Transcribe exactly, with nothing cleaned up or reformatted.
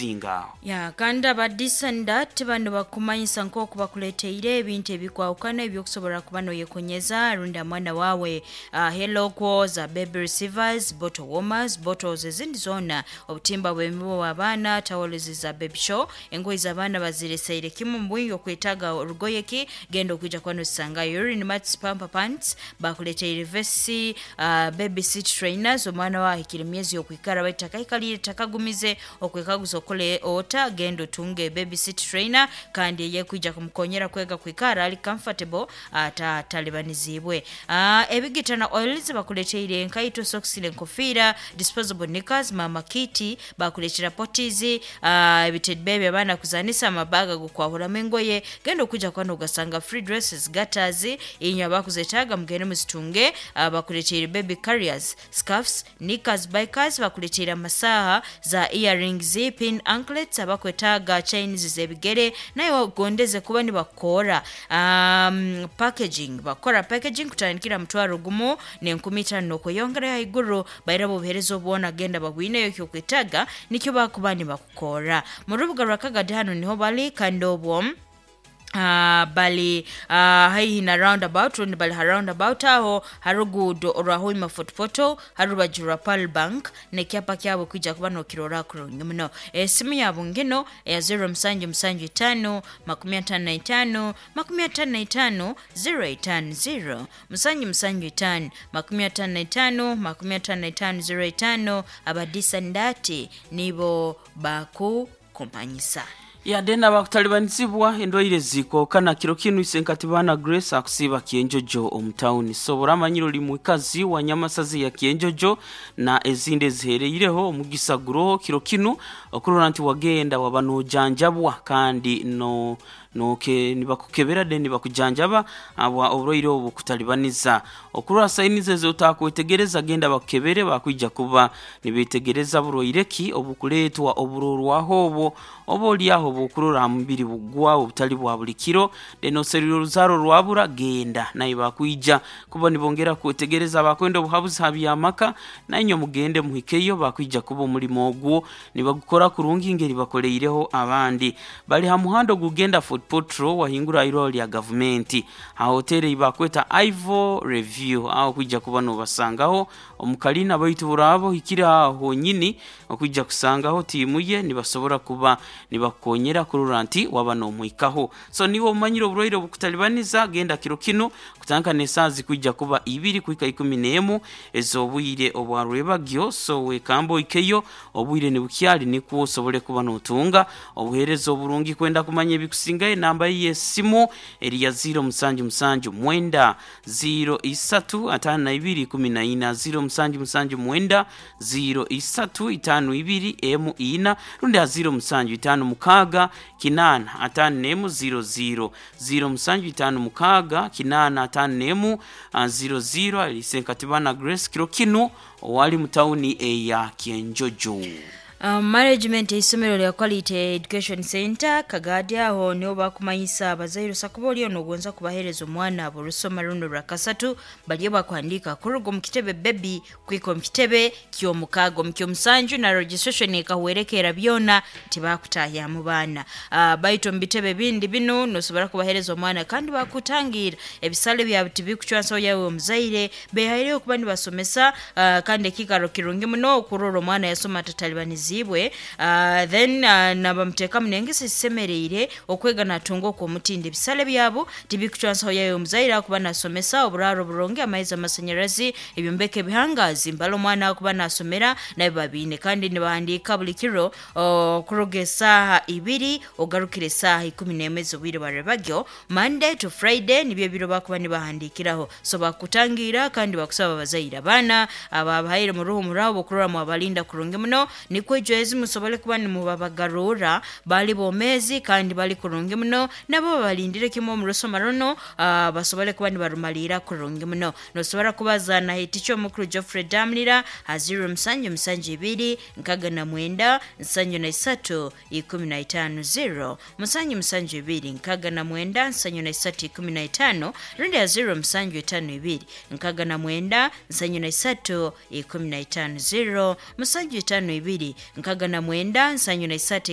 Zinga. Ya kandi abadisandat bano bakumanyisa nk'oku bakuleteire ebintu ebikwahukana ebyokusobora kuba noyekonyeza rundi mwana wawe uh, hello za baby receivers, bottle warmers, bottles ezindi zona, obutimba bw'emibu w'abaana, towels za baby show, engoye z'abaana bazireseire kimu mbwingi okwetaga orugoye ki genda okwija kuba nosisangayo urine mats, pamper pants bakuleteire vesi, uh, baby seat trainers omwana wawe ahikire emyezi yokwikara baitu takaikalire takagumize okwekaguza okole ota genda otunge baby seat trainer kandi eyekwija kumukonyera kwega kwikara ali comfortable atatalibanizibwe. Uh, ebigita na oils bakuleteire enkaito, socks n'enkofiira, disposable knickers, mama kiti bakuletera poties, uh, ebitebe by'abaana kuzanisa, amabaga gokwahuramu engoye genda okuja kwano ugasanga free dresses, gutters inywe abakuzetaaga mugende muzitunge. Uh, bakuleteire baby carriers, scarves, knickers, bikers bakuleteire amasaha za earrings, pin anklets abakwetaaga chains z'ebigere naye wagondeze kuba nibakora um, packaging bakora packaging kutandikira mutwaro gumu n'enkumi itaano n'okweyongerayo haiguru baira obuheereza obwona genda babwineyo ekyokwetaaga nikyo bakuba nibakukora mu rubuga rwa Kagadi. Hano niho bali kandi obwo Uh, bali uh, haihi na roundabout rundi bali ha roundabout aho harugudo orwa Hoima Fort Portal harubaju rwa Pearl Bank nekyapa kyabo kwija kuba nokirora kurungi muno. Esimu yabo ngino eya zero musanju musanju itano makumi atano na itano makumi atano na itano zero itano zero musanju musanju itano makumi atano na itano makumi atano na itano zero itano. Abadisa ndati nibo baku kumanyisa Ya dena bakutalibanizibwa endwaire zikokana kiro kinu isenkati bana Grace akusiba Kienjojo omutawuni. Sobora amanyiro oli mwikazi wa Nyamasazi ya Kienjojo na ezindi ezihereireho omugisa guroho kiro kinu okurora nti wagenda waba nojanjabwa kandi no noke nibakukebera de nibakujanjaba abwa oburwaire obu kutalibaniza okurora sayinizi ezo otakwetegereza genda bakukebere bakwija kuba nibetegereza burwaire ki obukuleetwa oburorwaho obwo oba oliaho bukurora aha mubiri bugwawo obutali bwa buli kiro then oserire oruzaaro rwabura genda naye bakwija kuba nibongera kwetegereza bakwenda obuhabuzi ha byamaka nainywe mugende muhikeyo bakwija kuba omulimo ogwo nibagukora kurungi ngeri bakoleireho abandi bali ha muhanda ogugenda Fort Portal wahingura irwaro lya gavumenti ha hoteri bakweta Ivo Review aho kwija kuba nobasangaho omukalina baitu burabo hikire aho honyini okwija kusangaho tiimu ye nibasobora kuba nibakonyera kurora nti waba nomwikaho. So niwe omanyire oburwaire obukutalibaniza genda kiro kinu kutandika n'esaaha zikwija kuba ibiri kuhika ikumi n'emu ez'obwire obwarwebagyo. So wekamba oikeyo obwire nibukyali nikwo osobole kuba notunga obuheereza oburungi. Kwenda kumanya ebikusingayo enamba y'esimu eri ya ziro musanju musanju mwenda ziro isatu atano na ibiri ikumi na ina ziro musanju musanju mwenda ziro isatu itano ibiri emu ina rundi ha ziro musanju itano mukaaga kinana atano n'emu ziro ziro ziro musanju itano mukaaga kinana atano n'emu ah, ziro ziro. Ali Senkatibana Grace kiro kinu owali mu tawuni eya Kienjojo. Um, management eisomero lya Quality Education Center Kagadi aho niho bakumanyisa abazaire osakuba oliyo nogonza kubahereza omwana abo orusoma runo rwa kasatu bariyo bakuhandiika kuruga omu kitebe baby kwika omu kitebe ky'omukaaga omu ky'omusanju na registration ekahwerekeera byona tibakutahyamu baana. Uh, baitu omu bitebe bindi binu nosobora kubahereza omwana kandi bakutangira ebisale byabo tibikucwansaho yawe omuzaire behaireyo kuba nibasomesa, uh, kandi ekikaro kirungi muno okurora omwana yasoma atatalibanizibwe. Uh, then uh, nabamuteekamu n'engeso ezisemereire okwega natunga okw'omutindo ebisale byabo tibikucwansaho yawe omuzaire akuba nasomesa oburaaro burungi amaizi amasanyarazi ebyombeko ebihangazi mbala omwana akuba nasomera nabyo babiine kandi nibahandiika buli kiro okuruga esaaha ibiri ogarukire esaaha ikumi n'emwe ez'obwire barebagyo Monday to Friday nibyo ebiro bakuba nibahandiikiraho. So bakutangira kandi bakusaba abazaire abaana ababahaire mu ruhumura okurora mwabalinda kurungi muno nikwo ejwezi musobole kuba nimubabagarura bali bomezi kandi bali kurungi muno nabo babalindire kimwe omu rusoma runo, uh, basobole kuba nibarumalira kurungi muno. Nosobora kubaza na hiticho omukuru Geoffrey Damlira ha ziro musanju musanju ibiri nkaga na mwenda nsanju na isatu ikumi na itano zero musanju musanju ibiri nkaga na mwenda nsanju na isatu ikumi na itano rundi ya ziro musanju itano ibiri nkaga na mwenda nsanju na isatu ikumi na itano zero musanju itano ibiri nkaga na mwenda nsanju na isatu.